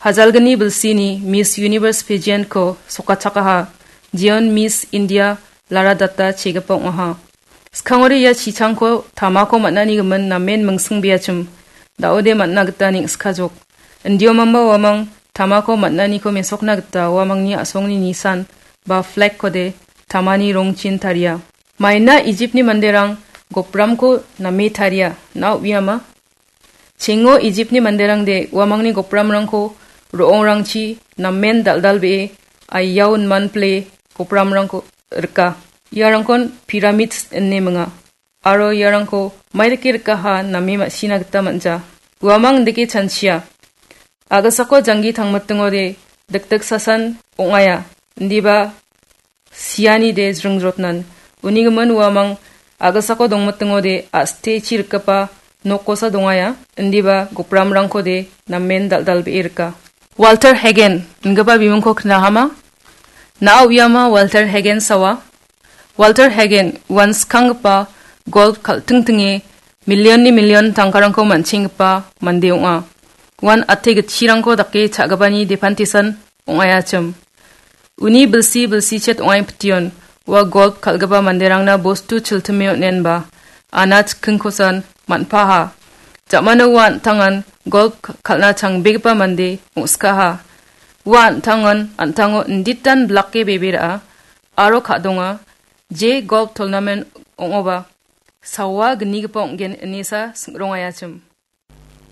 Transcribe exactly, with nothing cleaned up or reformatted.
Hajalgni bilsini Miss Universe pageant-ko sokachakaha, jeon Miss India Lara Datta chegipa ong·aha. Skangori ia chichangko tamako man·ani gimin namen mingsingbeachim, da·ode man·na gita neng·skajok. Indiomamba uamang tamako man·aniko mesokna gita uamangni a·songni nisan ba flag-kode tamani rongchin taria. Maina Ijiptni manderang gopramko name taria, na uiama? Chengo Ijiptni manderangde uamangni gopramrangko ro·ongrangchi namen dal·dalbee aiaon manpile gopramrangko rika. Iarangkon pyramids ine minga. Aro iarangko maidake rikaha name ma·sina gita man·ja. Uamang indake chanchia. Agasako janggi tangmitingode dikdiksasan ong·aia, indiba sianide jringjrotnan. Uni gimin uamang agasako dongmitingode a·stechi rikgipa nokkosa dongaia, indiba gopramrangkode namen dal·dalbee rika. Walter Hagen ingipa bimingko knahama? Na uiama Walter Hagen sawa? Walter Hagen uan skanggipa golf kal·tingtinge million-ni million tangkarangko man·chenggipa mande ong·a. Uan ate gitchirangko dake cha·gipani depantisan ong·aiachim. Uni bilsi bilsichet ong·ai pition, ua golf kal·gipa manderangna bostu chiltime on·enba, ana chikkingkosan man·paha. Jamano ua an·tangan golf ka-, kal·na changbegipa mande ong·skaha. Ua an·tangan, an·tango inditan blake bebe ra·a, aro ka·donga, je golf tournament ong·oba, sawa gnigipa ong·gen inesa sing·rongaiachim.